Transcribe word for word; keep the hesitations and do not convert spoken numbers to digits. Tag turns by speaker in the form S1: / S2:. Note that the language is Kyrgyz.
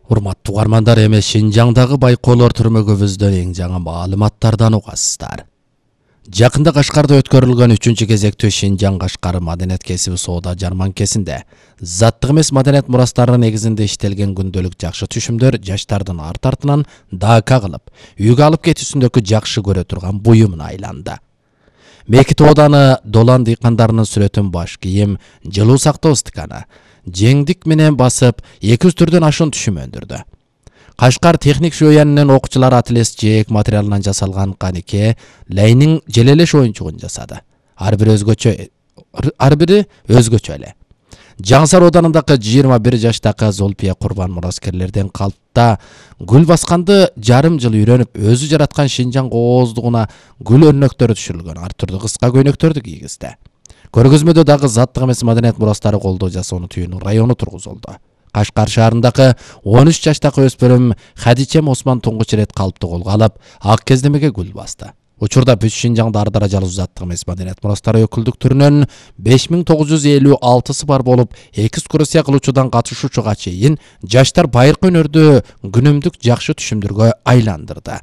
S1: Урматтуу угармандар, эми Шинжаңдагы байкоолор түрмөгүбүздөн эң жаңы маалыматтардан угасыздар. Жакында Кашкарда өткөрүлгөн үчүнчү кезектүү Шинжаң Кашкар маданият кесиби соода жарманкесинде заттык эмес маданият мурастарынын негизинде иштелген күндөлүк жакшы түшүмдөр жаштардын арт артынан дака кылып, үйгө алып кетүүсүндөгү жакшы көрө турган буюмуна айланды. Мекит ооданы Долан дыйкандарынын сүрөтүн баш кийим, жылуу сактоо стаканы, жеңдик менен басып, эки жүз түрдөн ашуун түшүм өндүрдү. Кашкар техник шөйянынын окуучулар ателес жээк материалынан жасалган канике Лейнин желелеш оюнчугун жасады. Ар бири өзгөчө, ар бири өзгөчө эле. Жаңсар оданындагы жыйырма бир жаштагы Золпия Курбан мураскерлерден калпта гүл басканды жарым жыл үйрөнүп, өзү жараткан Шинжаң кооздугуна гүл өрнөктөрү түшүрүлгөн ар түрдүү кыска көйнөктөрдү кийгизди. Көргөзмөдө дагы заттык эмес маданият мурастары колдоо жасоону түйүүнүн району тургузулду. Кашкар шаарындагы он үч жаштагы өспүрүм Хадичем Осман туңгуч ирет калпты колго алып, ак кездемеге гүл басты. Учурда бүт Шинжаңда ар даражалуу заттык эмес маданият мурастары өкүлдүктөрүнүн беш миң тогуз жүз элүү алтысы бар болуп, экскурсия кылуучудан катышуучуга чейин жаштар байыркы өнөрдү күнүмдүк жакшы түшүмдөргө айландырды.